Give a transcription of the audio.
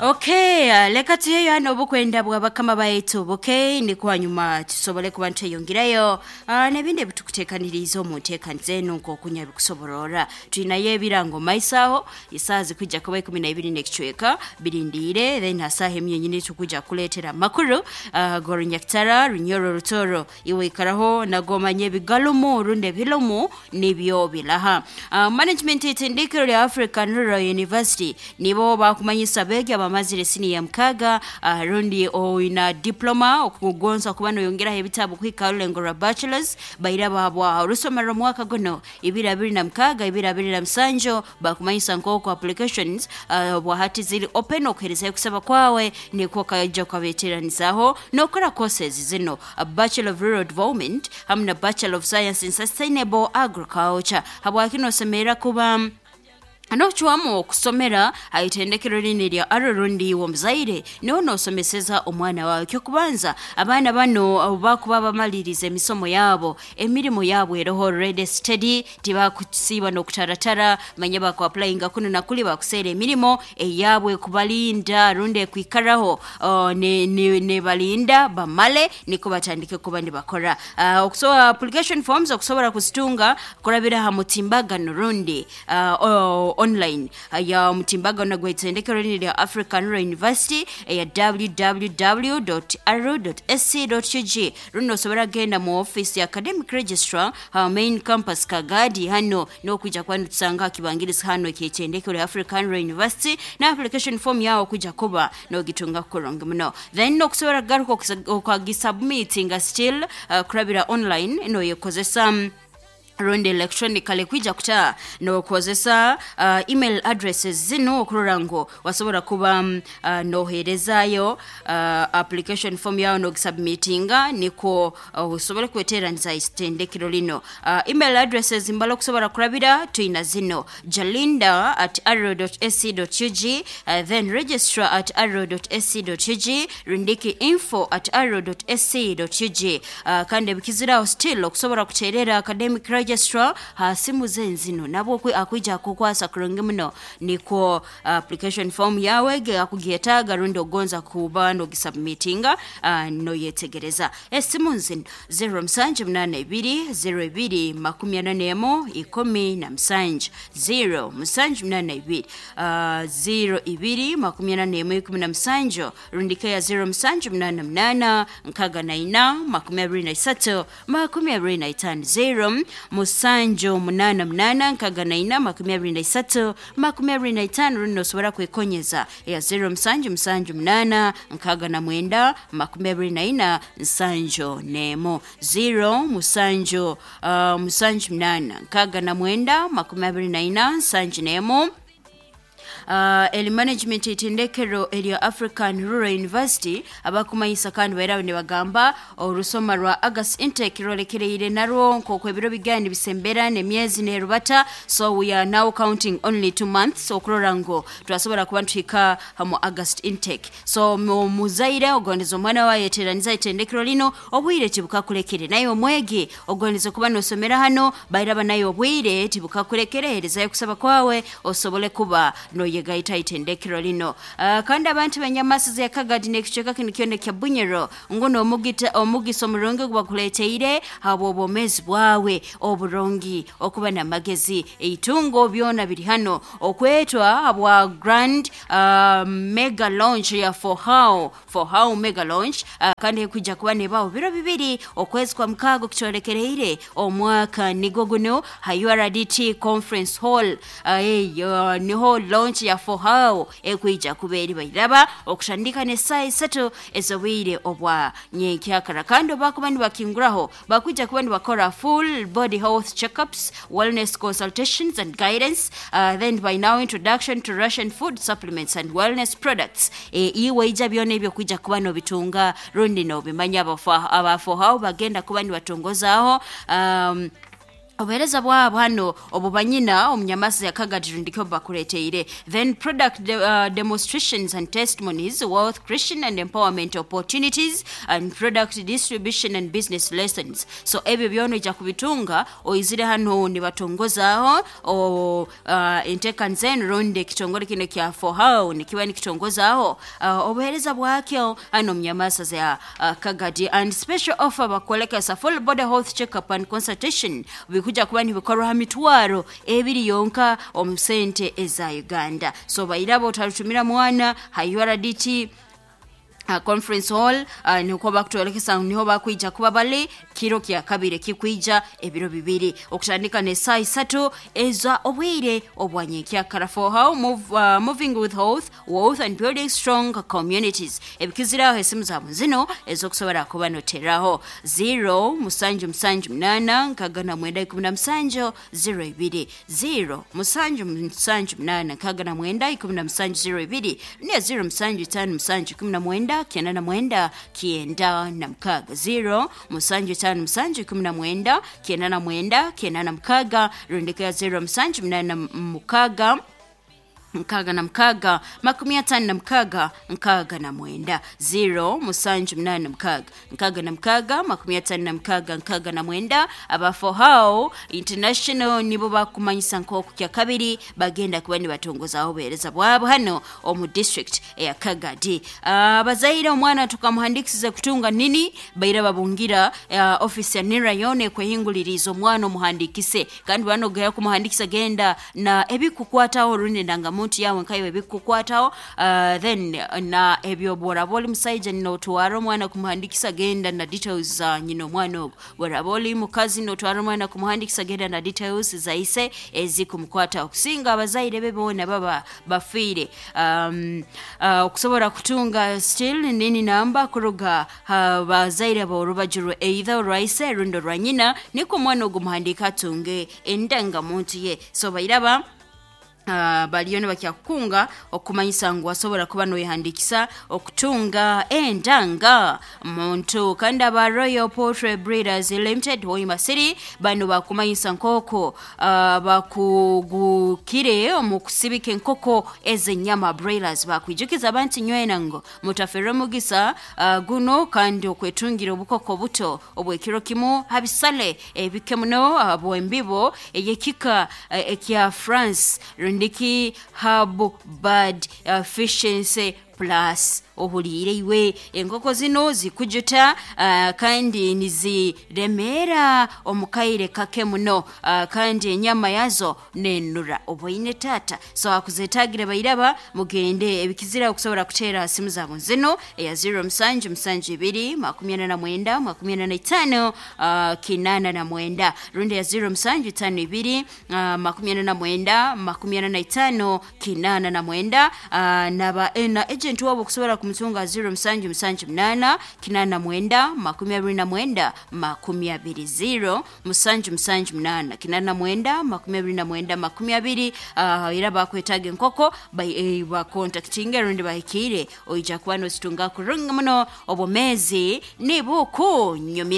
Okay, leka tuheyo hano obukwenda bwa bakama baitu buke nikwo hanyuma tusobole kuba nitweyongerayo n'ebindi ebitukuteekaniriize omu nteekaniza enu nk'okunya bikusoborora. Twinayo ebirango maiso aho, esaaha zikwija kuba 12 n'ekicweka birindiire, then ha saaha emu yenyini tukwija kukuleetera amakuru g'orunyakitara, Runyoro, Rutoro. Iwe ikaraho nago omanye ebigalumu rundi ebilumu nibyo bilaha. Management y'itendekero lya African Rural University nibo bakumanyisa abeegi abamazire siniya mukaaga rundi oina diploma okugonza kuba noyongeraho ebitabu kuhika ha rulengo rwa bachelors, baira bahabwa orusomero omwaka guno 2026 2027. Bakumanyisa nk'oku applications obwahati ziri open okuherezayo okusaba kwawe nikwo okaija okabeteranizaho nokora courses zinu, Bachelor of Rural Development hamu na Bachelor of Science in Sustainable Agriculture. Habwaki nosemerra kuba n'ocwamu okusomera ha itendekero linu erya Arrow rundi iwe omuzaire niwe n'osomeseza omwana waawe? Eky'okubanza, abaana banu obu bakuba bamaliriize emisomo yabo, emirimo yabo eroho ready steady, tibakusiiba n'okutaratara, manya bakuapulayinga kunu na kuli bakuseera emirimo eyabo ekubalinda rundi ekwikaraho nebalinda bamale nikwo batandike kuba nibakora. Okusobora application forms okusobora kuzitunga kurabira ha mutimbagano rundi online ya omutimbagano gw'itendekero linu erya African Rural University eya www.aru.ac.ug rundi nosobora kugenda mu office ya academic registrar ha main campus Kagadi. Hano nokwija kuba nitusanga ha kibangirizi hano eky'itendekero lya African Rural University na application form yawe okwija kuba nogitunga kurungi muno. Then nokusobora kugaruka okagisubmitinga still kurabira online noyekozesa rundi electronically kwija kuta nokozesa email addresses zinu okurora ngu wasobora kuba noheerezaayo application form yawe nogisubmitinga nikwo osobole kweteraniza itendekero lino. Email addresses mbala okusobora kurabira twina zino, jalinda at arrow.ac.ug, then registrar at arrow.ac.ug, rindiki info at arrow.ac.ug. Kandi ebikizire still okusobora kuterera academic registrar ha simu ze nzino, nabwo akwija akukwasa kurungi muno nikwo application form yawe ege akugyetaaga rundi ogonza kuba nogisubmitinga noyetegereza. Esimu nzino, 0782 02 41 17, 0782 02 41 17, rundi keya 0788 64 23 25, 0788 64 23 25, rundi nosobora kwekonyeza eya 0778 69 24 71, 0 musanju 78 69 24 71. Eli management itendekero erya African Rural University abakumanyisa kandi bairaho nibagamba orusoma rwa August intake rwolekereire narwo nk'oku ebiro bigaya nibisembera n'emyezi nerubata. So we are now counting only 2 months okurora ngu twasobora kuba nituhika mu August intake. So omuzaire ogondeza omwana wawe ayeteraniza itendekero lino, obwire tibukakulekere. Naye omwegi ogondeza kuba nosomera hano, bairaba naye obwire tibukakulekere, herezayo okusaba kwawe osobole kuba noyegaita itendekero lino. Kandi abantu b'enyamasizi ya Kagadi n'ekicweka kinu kyona ekya Bunyoro ngu n'omugita omugisa omurungi ogu bakuleeteire habw'obwomeezi bwawe oburungi, okuba n'amagezi, eitungo byona biri hano. Okwetwa habwa Grand Mega Launch ya For How, For How Mega Launch, kandi ekwija kuba nebaho biro bibiri okwezi kwa mukaaga okutwolekereire omwaka nigwo guno ha URDT Conference Hall. Eyo niho launch ya For How ekwija kuba eri bairaba okutandika n'esaaha isatu ez'obwire obwa nyenkyakara. Kandi obu bakuba nibakinguraho bakwija kuba nibakora full body health checkups, wellness consultations and guidance, then by now introduction to Russian food supplements and wellness products. Iwe ija byona ebyo kwija kuba nobitunga rundi nobimanya. Aba For How bagenda kuba nibatongozaaho. Obuheereza bwabo hano obu banyina omunyamasi ya Kagadi ndikyo bakureteire. Then product demonstrations and testimonies, wealth creation and empowerment opportunities, and product distribution and business lessons. So ebyo byona ojja kubitunga oizire hano nibatongozaho o enteekaniza enu rundi ekitongore kino kya Fohow nikiba nikitongozaho obuheereza bwakyo hano omunyamasa za Kagadi. And special offer bakwolekesa full body health checkup and consultation bikuja kuba nibikorwa ha 20,000 yonka omu sente eza Uganda. So bairabo otarutumira mwana ha URDT conference hall, niko bakutwolekesa niho bakwija kuba bali kiro kya kabiri kikwija ebiro 2 okutandika ne saa 3 eza obwire obwanyenkya. For how moving with health, wealth and building strong communities. Ebikiziraho esimu zaabo zino ezokusobora kuba noteraho 0 7 7 8 69 17 02 0 7 7 8 69 17 02 ne 0 7 5 7 19 99 96 0 7 5 7 19 99 96 rundika ya 0 7 8 6 6 56 69 0 7 8 6 56 69. Abafohao International nibo bakumanyisa nk'oku kya kabiri bagenda kuba nibatongozaho obuheereza bwabo hano omu district eya Kagadi. Abazaire omwana tukamuhandikisize kutunga nini baira babungira office ya NIRA yona ekwehinguliriza omwana omuhandikise, kandi banogera kumuhandikisa genda na ebikukwataho rundi ndangamuntu yawe nkayo ebikukwataho, then na ebyo bworaba oli musaija notwara omwana kumuhandikisa genda na details za nyina omwana ogwo, bworaba oli mukazi notwara omwana kumuhandikisa genda na details za ise ezikumukwataho. Kusinga abazaire be boona baba bafiire, okusobora kutunga still nini namba kuruga bazaire borubaju rwe either orwa ise rundi orwa nyina, niko omwana ogwo muhandika atunge endangamuntu ye. So bairaba baliyo nibakyakukunga okumanyisa ngu wasobora kuba noyehandikisa okutunga endanga muntu. Kandi aba Royal Poultry Breeders Limited Hoima City bano bakumanyisa nkoko bakugukire omu kusibika enkoko ez'enyama broilers. Bakwijukiza abantu nywena ngo mutafere omugisa guno kandi okwetungira obukoko buto obwekiro kimu habisale ebike muno bwembibo eyekika ekya France rundiki hub bird efficiency plus. Ohuliire iwe enkoko zino zikujuta, kandi niziremera omukaire kake muno, kandi enyama yazo nenura oboine tata. So akuzetagire bairaba mugende ebikizira okusobora kuteera simu zabo zino eya 0 7 7 2 49 45 89 rundi ya 0 7 5 2 49 45 89, naba na agent wabo kusobora kumutunga 0 7 7 8 89 29 20 0 7 7 8 89 29 20. Era bakwetaga enkoko bakontaktinge rundi bahikire oija kuba nositunga kurungi muno obumezi nibukunyumira.